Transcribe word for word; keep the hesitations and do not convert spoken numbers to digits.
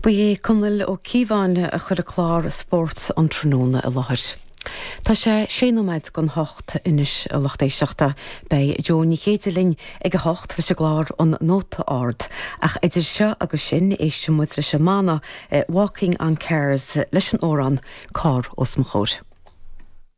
Ba é Conall Ó Cíobháin a chuir clár spóirt an tráthnóna i láthair. Tá sé sé nóiméad don hocht anois a lucht éisteachta beidh Jo Ní Chéide linn ag a hocht leis an gclár an Nóta Ard ach idir seo agus sin éistfidh muid leis an mbanna Walking on Cars leis an amhrán Carr os mo chomhair.